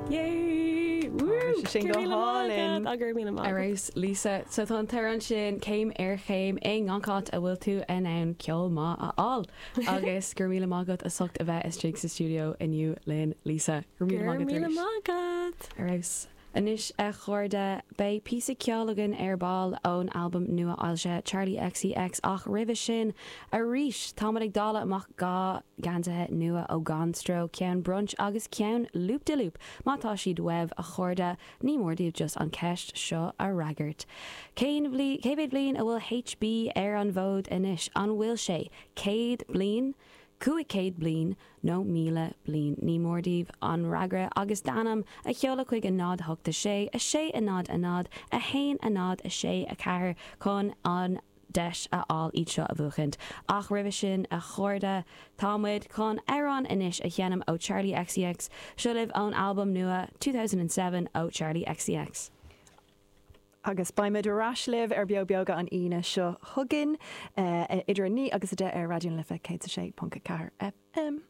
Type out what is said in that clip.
Yay! Woo! Tá sin go hálainn. Go raibh míle maith Ar agat. fheabhas, Lisa. So tá an t-amhrán sin céim ar chéim i ngach áit a bhfuil tú in ann ceol maith a fháil. Agus go raibh míle maith agat as ucht a bheith istigh sa stiúideo inniu linn, Lisa. Go raibh Go míle raibh maith agat míle arís. maith agat! Ar fheabhas. Anois, a chairde, beidh píosa ceoil againn ar ball ón albam nua-fhoilsithe Charli XCX ach roimhe sin, arís, táimid ag dáileadh amach 2 geansaithe nua ó Gan Stró, ceann Brunch agus ceann Loop de Loop. Má tá siad uaibh, a chairde, ní mór daoibh just an ceist seo a fhreagairt. Cén bhli, cé mhéad bliain a bhfuil HB ar an bhfód anois? An bhfuil sé 100 bliain? 500 bliain nó 1,000 bliain. Ní mór daoibh an fhreagra agus d'ainm a sheoladh chuig 0 8 6 6 0 0 1 0 6 4 chun an deis a fháil iad seo a bhuachaint. Ach roimhe sin, a chairde, tá muid chun amhrán anois a sheinm ó Charli XCX. Seo libh ón albam nua 2007 ó Charli XCX. Agus beimid ar ais libh ar Beo Beoga an Aoine seo chugainn, idir 9 agus 10 ar Raidió na Life 106.4 FM.